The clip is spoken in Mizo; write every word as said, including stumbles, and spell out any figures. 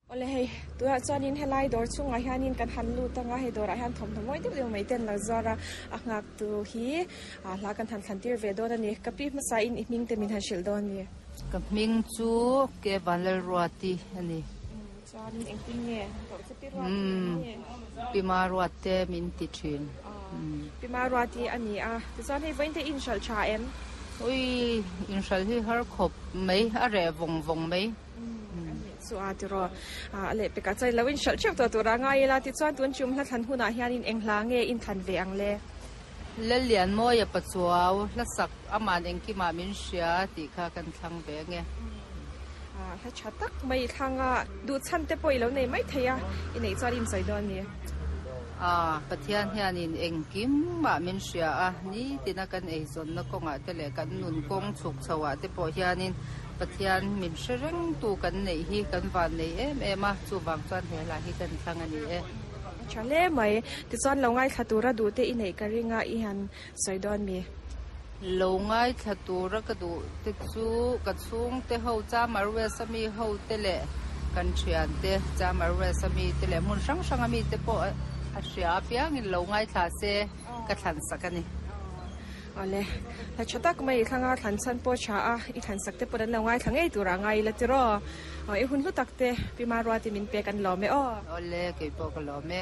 Awle hei, tunah chuanin helai dawr chungah hianin kan han lut anga hei dawrah hian thawmhnaw mawi deuh deuh mai te an lo zuar a, a nghak tu hi ah hla kan han thlan tir ve dawn a ni. Ka pi hmasa in i hming te min han hrilh dawn a ni. Ka hming chu ke Vanlalruati a ni. Chuanin engtin nge koh chu pi Ruati a ni. Pi Maruat te min ti thin. Pi Maruati a ni a, tichuan hei vawiin te i inhralh tha em? Ui, inhralh hi har khawp mai, a reh vawng vawng mai. Chu a tiraw a leh pekah chuan lo inhralh theuh tawh tur a ngai ila tichuan tun chum hla thlan hunah hianin eng hla nge inthlan ve ang le? Lallianmawia Pachuau hla sak aman engkimah min hria tih kha kan thlang ve ange. Hla tha tak mai thlang a, duh chhan te pawh i lo nei mai thei a, i neih chuan i insawi dawn a ni. A, Pathian hianin engkimah min hria a, nitina kan eizawnna kawngah te leh kan nun kawng chhuk chhoah te pawh hianin Pathian min hre rengtu kan neih hi kan van nei em em a, chuvang chuan he hla hi kan thlang a ni e. A tha hle mai, tichuan lo ngaithla tura duh te i neih ka ring a, i han sawi dawn mi? Lo ngaithla tura ka duh te chu ka chhungte ho Chamar West a mi ho te leh kan thian te Chamar West a mi te leh hmun hrang hrang a mi te pawh a hria apiangin lo ngaithla se ka thlan sak a ni. Awle, hla tha tak mai i thlanga thlan chhan pawh tha a, i thlan sak te pawh an lo ngaithla ngei turah ngai ila tiraw? I hun hlu tak te Pi Maruati min pek an lawm e aw. Awle, keipawh ka lawm e.